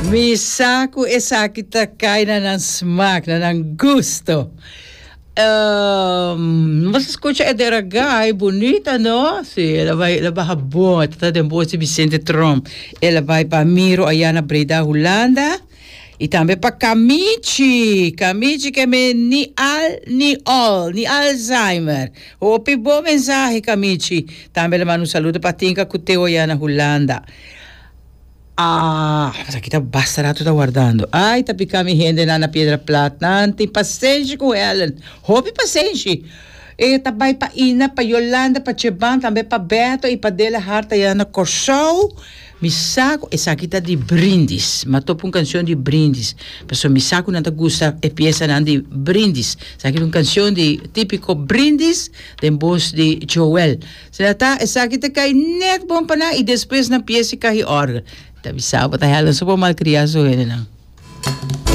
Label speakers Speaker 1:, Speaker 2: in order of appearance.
Speaker 1: Mi sa ku esaki ta kai na nan smak, na nan gusto. Um, nos a skucha e Deragai, bunita no? Si, el a bai, el a baha bon, e ta den bos di Vicente Tromp. El a bai pa Miro aya na Breda, Hulanda. I tambe pa Kamichi, Kamichi ke me ni al ni ol, ni Alzheimer. Hopi bon mensahe Kamichi. Tambe el a manda un saludo pa Tinka ku Teo aya na Hulanda. Ah, esaki ta basta rato ta wardando. Ay, ta pica mi hendenan na Piedra Plat. Nan tin pasenshi cu Helen. Hopi pasenshi. E ta bay pa Ina, pa Yolanda, pa Cheban, tambe pa Beto y pa Dela Hart aya na Corsou. Mi sa cu esaki ta di Brindis. Mi a topa un cancion di Brindis. Pasobra mi sa cu nan ta gusta e piesanan di Brindis. Esaki ta un cancion di tipico Brindis den bos di Joel. Sera ta esaki ta kai net bon pa nan y despues nan pies y kahi orgel. Ta bisa bo ta Helen so por malcria su hendenan.